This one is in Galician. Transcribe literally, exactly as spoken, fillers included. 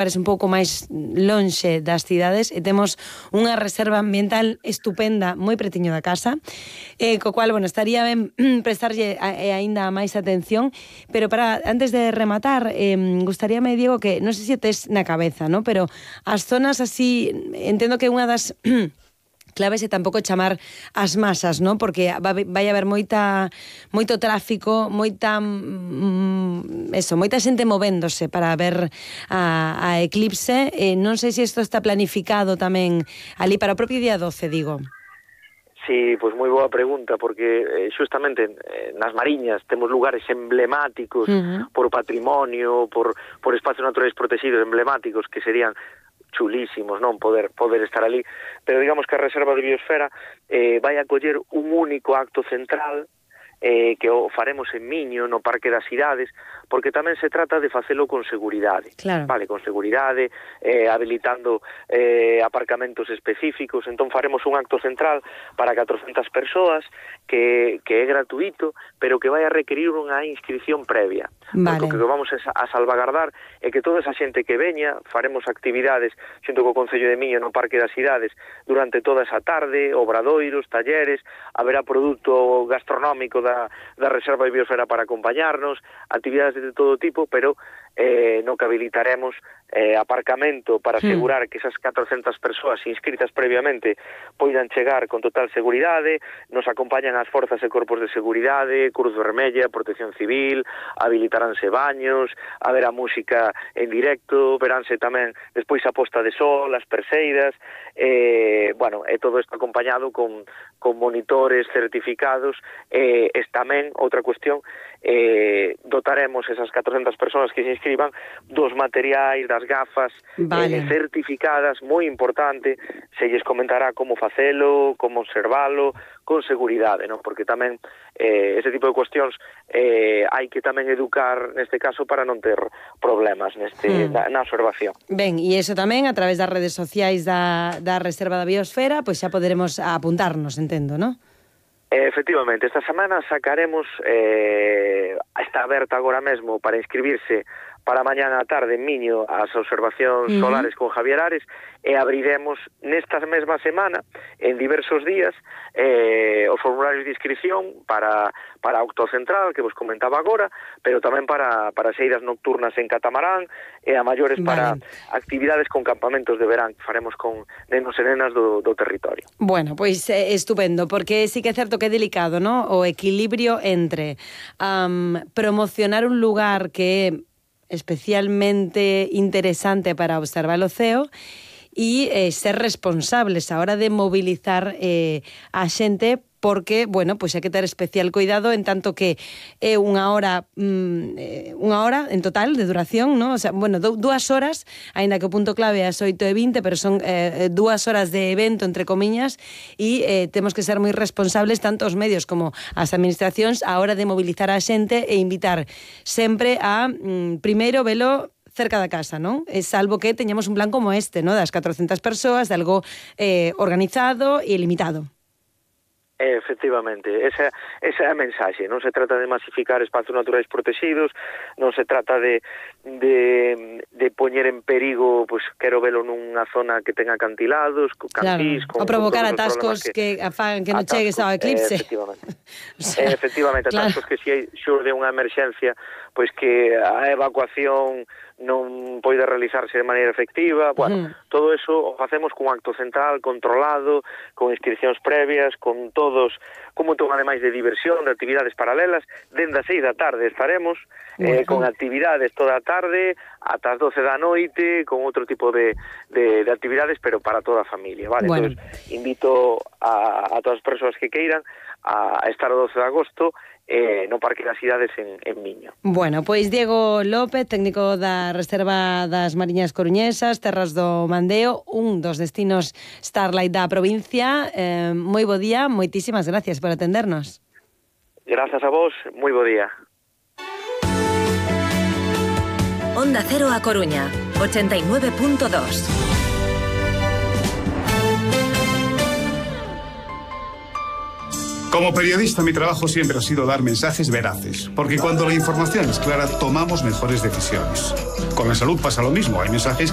parece un pouco máis lonxe das cidades e temos unha reserva ambiental estupenda moi pretiño da casa, eh, co cual, bueno, estaría ben prestarlle a, e aínda máis atención, pero para antes de rematar, eh, gustaríame, Diego, que non sei se tes na cabeza, ¿no? Pero as zonas así, entendo que unha das claves é tampouco chamar as masas, ¿no? Porque vai haber moita moito tráfico, moita mm, eso, moita xente movéndose para ver a, a eclipse. Eh, non sei se isto está planificado tamén ali para o propio día doce, digo. Sí, pois moi boa pregunta, porque eh, xustamente eh, nas Mariñas temos lugares emblemáticos uh-huh. por patrimonio, por, por espacios naturais protegidos emblemáticos que serían chulísimos, non, poder poder estar ali, pero digamos que a Reserva de Biosfera eh, vai acoller un único acto central eh, que o faremos en Miño, no Parque das Cidades, porque tamén se trata de facelo con seguridade, claro. Vale, con seguridade, eh, habilitando eh, aparcamentos específicos. Entón faremos un acto central para catrocentas persoas que, que é gratuito, pero que vai a requerir unha inscripción previa. Vale. Porque o que vamos a salvagardar é que toda esa xente que veña, faremos actividades xunto co Concello de Miño no Parque das Cidades durante toda esa tarde, obradoiros, talleres, haberá produto gastronómico da, da Reserva de Biosfera para acompañarnos, actividades de todo tipo, pero eh, no que habilitaremos eh, aparcamento para asegurar que esas catrocentas persoas inscritas previamente poidan chegar con total seguridade. Nos acompañan as forzas e corpos de seguridade, Cruz Vermella, Protección Civil, habilitaránse baños, haberá música en directo, veránse tamén despois a posta de sol, as perseidas, eh, bueno, e todo isto acompañado con, con monitores certificados. Eh, es tamén outra cuestión, eh, dotaremos esas catrocentas persoas que se inscriban dos materiais, das gafas, vale. eh, certificadas, moi importante, se lles comentará como facelo, como observalo, con seguridade, non? Porque tamén eh, ese tipo de cuestións eh, hai que tamén educar neste caso para non ter problemas neste mm. na, na observación. Ben, e iso tamén a través das redes sociais da, da Reserva da Biosfera, pois xa poderemos apuntarnos, entendo, non? Efectivamente, esta semana sacaremos, eh, está aberta agora mesmo para inscribirse para mañana a tarde en Miño as observacións uh-huh. solares con Javier Ares, e abriremos nesta mesma semana, en diversos días, eh, os formularios de inscripción para, para Octo Central, que vos comentaba agora, pero tamén para, para seidas nocturnas en catamarán, e a maiores vale. Para actividades con campamentos de verán que faremos con nenos e nenas do, do territorio. Bueno, pois eh, estupendo, porque sí que é certo que é delicado, ¿no? O equilibrio entre um, promocionar un lugar que é especialmente interesante para observar o ceo e eh, ser responsables a hora de mobilizar eh, a xente, porque, bueno, pois hai que ter especial cuidado en tanto que é unha hora mm, unha hora en total de duración, ¿no? O sea, bueno, dúas horas, aínda que o punto clave é as oito e vinte, pero son eh, dúas horas de evento, entre comiñas, e eh, temos que ser moi responsables tanto os medios como as administracións a hora de mobilizar a xente e invitar sempre a, mm, primeiro, velo cerca da casa, non? É salvo que teñamos un plan como este, ¿no? Das catrocentas persoas, de algo eh, organizado e limitado. Efectivamente, esa, esa é a mensaxe. Non se trata de masificar espacios naturais protegidos, non se trata de, de, de poñer en perigo, pues, quero velo nunha zona que tenga acantilados, cantís... Claro, con, o provocar con atascos que, que afagan que non chegues ao eclipse. Eh, efectivamente, o sea, eh, efectivamente atascos claro. Que se si xurde unha emerxencia, pois pues que a evacuación non poida realizarse de maneira efectiva. Bueno, uh-huh. todo eso o facemos cun acto central controlado, con inscripcións previas, con todos, como un ademais de diversión, de actividades paralelas. Dende as seis da tarde estaremos, uh-huh. eh, con actividades toda a tarde, ata as doce da noite, con outro tipo de, de, de actividades, pero para toda a familia, vale? Bueno. Entonces, invito a, a todas as persoas que queiran a, a estar o doce de agosto Eh, no Parque das Cidades en, en Miño. Bueno, pois Diego López, técnico da Reserva das Mariñas Coruñesas, Terras do Mandeo, un dos destinos Starlight da provincia. Eh, moi bo día, moitísimas gracias por atendernos. Grazas a vos, moi bo día. Onda Cero a Coruña, ochenta y nueve punto dos. Como periodista, mi trabajo siempre ha sido dar mensajes veraces, porque cuando la información es clara, tomamos mejores decisiones. Con la salud pasa lo mismo, hay mensajes